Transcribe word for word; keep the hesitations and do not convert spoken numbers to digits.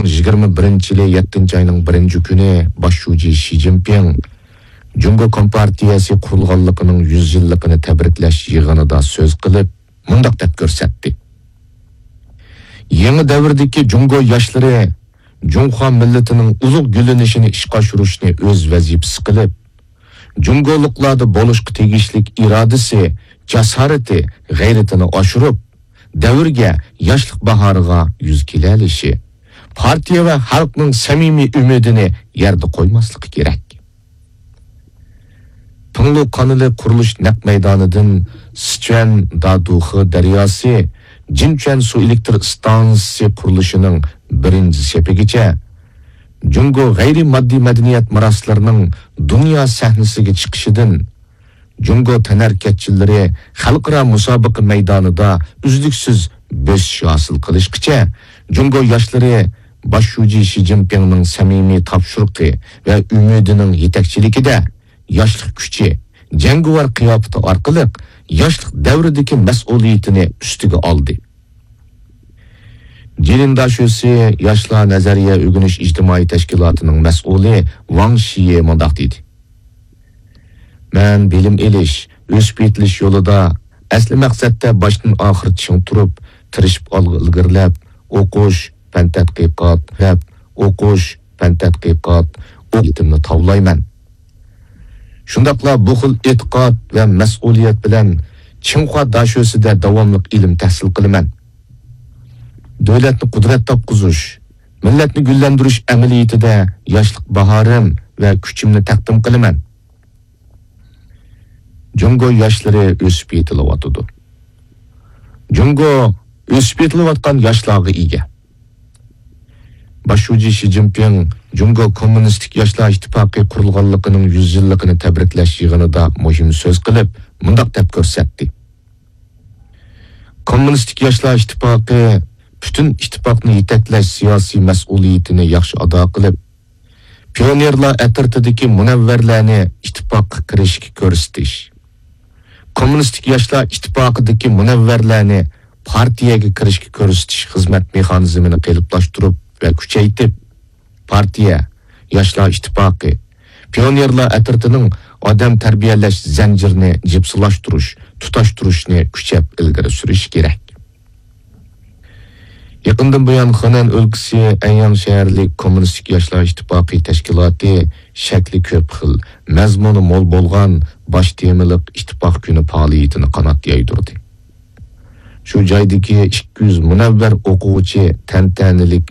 يىگىرمە بىرىنچى يىلى يەتتىنچى ئاينىڭ بىرىنچى كۈنى باش شۇجى شى جىنپىڭ جۇڭگو كومپارتىيەسى قۇرۇلغانلىقىنىڭ يۈز يىللىقىنى تەبرىكلەش يىغىنىدا سۆز قىلىپ، مۇنداق دەپ كۆرسەتتى: يېڭى دەۋردىكى جۇڭگو ياشلىرى جۇڭخۇا مىللىتىنىڭ ئۇلۇغ گۈللىنىشىنى ئىشقا ئاشۇرۇشنى ئۆز ۋەزىپىسى قىلىپ، جۇڭگولۇقلاردا بولۇشقا تېگىشلىك ئىرادىسى، جاسارىتى، غەيرىتىنى ئاشۇرۇپ، دەۋرگە، ياشلىق باھارىغا يۈز كېلەلىشى، پارتىيە ۋە خەلقنىڭ سەمىمىي ئۈمىدىنى يەردە قويماسلىقى كېرەك. پىڭلۇ قانىلى قۇرۇلۇش نەق مەيدانىدىن سىچۈەن دادۇخې دەرياسى، جىنچۈەن سۇ ئېلېكتر ئىستانسىسى قۇرۇلۇشىنىڭ بىرىنچى سېپىگىچە جۇڭگو غەيرىي ماددىي مەدەنىيەت مىراسلىرىنىڭ دۇنيا سەھنىسىگە چىقىشىدىن، جۇڭگو تەنھەرىكەتچىلىرى خەلقئارا مۇسابىقە مەيدانىدا ئۈزلۈكسىز بۆسۈش ھاسىل قىلىشقىچە، جۇڭگو ياشلىرى باش شۇجى شى جىنپىڭنىڭ سەمىمىي تاپشۇرۇقى ۋە ئۈمىدىنىڭ يېتەكچىلىكىدە ياشلىق كۈچى، جەڭگىۋار قىياپىتى ئارقىلىق ياشلىق دەۋرىدىكى مەسئۇلىيىتىنى ئۈستىگە ئالدى. جىلىن داشۆسى ياشلار نەزەرىيە ئۆگىنىش ئىجتىمائىي تەشكىلاتىنىڭ مەسئۇلى ۋاڭ شىيې مۇنداق دېدى: مەن بىلىم ئېلىش، ئۆسۈپ يېتىلىش يولىدا ئەسلى مەقسەتتە باشتىن ئاخىر چىڭ تۇرۇپ، تىرىشىپ ئالغا ئىلگىرىلەپ، ئوقۇش، پەن تەتقىقات، دەپ، ئوقۇش، پەن تەتقىقات، ئوقۇتۇمنى تاۋلايمەن. شۇنداقلا بۇ خىل ئېتىقاد ۋە مەسئۇلىيەت بىلەن چىڭخۇا داشۆسىدە داۋاملىق ئىلىم تەھسىل قىلىمەن. دۆلەتنى قۇدرەت تاپقۇزۇش، مىللەتنى گۈللەندۈرۈش ئەمەلىيىتىدە ياشلىق باھارىم ۋە كۈچۈمنى تەقدىم قىلىمەن. جۇڭگو ياشلىرى ئۆسۈپ يېتىلىۋاتىدۇ. جۇڭگو ئۆسۈپ يېتىلىۋاتقان ياشلارغا ئىگە. باش شۇجى شى جىنپىڭ جۇڭگو كوممۇنىستىك ياشلار ئىتتىپاقى قۇرۇلغانلىقىنىڭ يۈز يىللىقىنى تەبرىكلەش يىغىنىدا مۇھىم سۆز قىلىپ، مۇنداق دەپ كۆرسەتتى: كوممۇنىستىك ياشلار ئىتتىپاقى پۈتۈن ئىتتىپاقنى يېتەكلەش سىياسىي مەسئۇلىيىتىنى ياخشى ئادا قىلىپ، پىيونېرلار ئەترىتىدىكى مۇنەۋۋەرلەرنى ئىتتىپاققا كىرىشكە كۆرسىتىش، كوممۇنىستىك ياشلار ئىتتىپاقىدىكى مۇنەۋۋەرلەرنى پارتىيەگە كىرىشكە كۆرسىتىش خىزمەت مېخانىزمىنى قېلىپلاشتۇرۇپ ۋە كۈچەيتىپ، پارتىيە، ياشلار ئىتتىپاقى، پىيونېرلار ئەترىتىنىڭ ئادەم تەربىيەلەش زەنجىرىنى جىپسىلاشتۇرۇش، تۇتاشتۇرۇشنى كۈچەپ ئىلگىرى سۈرۈش كېرەك. يېقىندىن بۇيان، خېنەن ئۆلكىسى ئەنياڭ شەھەرلىك كوممۇنىستىك ياشلار ئىتتىپاقى تەشكىلاتى شەكلى كۆپ خىل، مەزمۇنى مول بولغان باش تېمىلىق ئىتتىپاق كۈنى پائالىيىتىنى قانات يايدۇردى. شۇ جايدىكى ئىككى يۈز مۇنەۋۋەر ئوقۇغۇچى تەنتەنىلىك